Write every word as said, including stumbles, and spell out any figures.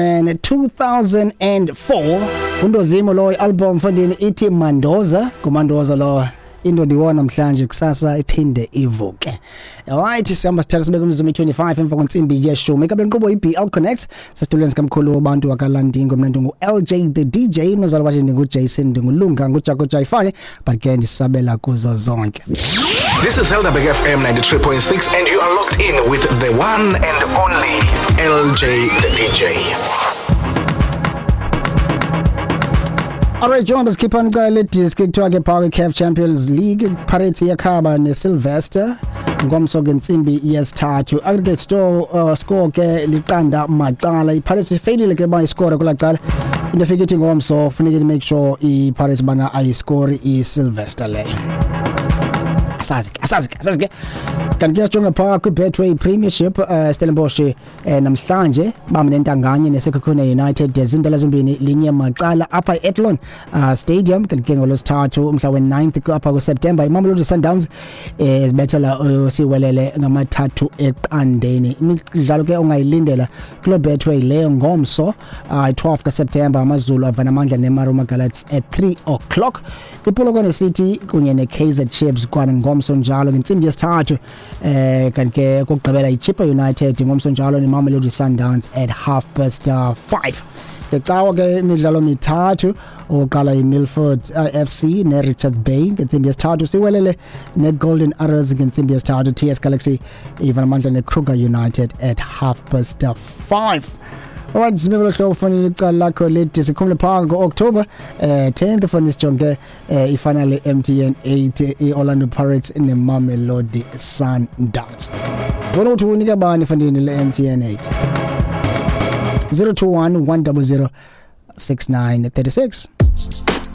And two thousand four undozimo lo album mfondini ithi Mandoza, kuMandoza lo indoda iwona namhlanje, kusasa iphinde ivuke. Alright, sihamba sithatha sibeke umzuzu twenty-five emva kwentsimbi yeshumi. Ikabe inkqubo iB L Connect sesitulweni sikamkhulu wabantu wakaLandingo. Mina ndingu L J the D J, nozalo bathi ndingu Jason, ndingulunga nguJaco Jayifane, but ke ndisabela kuzo zonke. This is Helderberg F M ninety-three point six and you are locked in with the one and only L J the D J. Alright, njengoba sikhipha nicala le disk, kuthiwa ke phaa kwi-CAF Champions League, Pirates iyakhaba neSylvester ngomso ngentsimbi yesithathu. Aggregate store uh, score ke liqanda macala. iPirates ifeyilile ke ba iscore kulaa cala. Into efika ithi ngomso funeka make sure iPirates bana ayiscore iSylvester leyo. Asazi ke, asazi ke, asazi ke. Kanti ke sijonge phaa kwi-Betway Premiership, uh, Stellenbosch eh, namhlanje bambe nentanganye neSekhukhune United, zindela zombini linye macala apha e-Athlone uh, Stadium. Kanti ke ngolwesithathu umhla we-ninth apha kuSeptember, iMamelodi Sundowns eh, zibethela uh, siwelele ngamathathu eqandeni. Imidlalo ke ongayilindela kuloo Betway leyo ngomso, uh, twelve kaSeptember, AmaZulu avana amandla neMarumo Gallants at three o'clock. IPolokwane City kunye ne-Kaizer Chiefs kwana ngomso njalo ngentsimbi yesithathu. eh kanti ke kokugqibela iChippa United ngomso njalo neMamelodi Sundowns at half past uh, five. Ngecawa ke imidlalo mithathu. Oqala iMilford uh, F C neRichards Bay ngentsimbi yesithathu, siwelele neGolden Arrows ngentsimbi yesithathu, T S Galaxy ivana amandla neKruger United at half past five. Alright, simele hlobo fanele icala lakho lethi sikhumule phaa ngo-October eh tenth, fanele sijonge eh ifinal M T N eight, i-Orlando Pirates neMamelodi Sundowns. Bona uthi unika bani fandini le M T N eight? zero two one one zero zero six nine three six.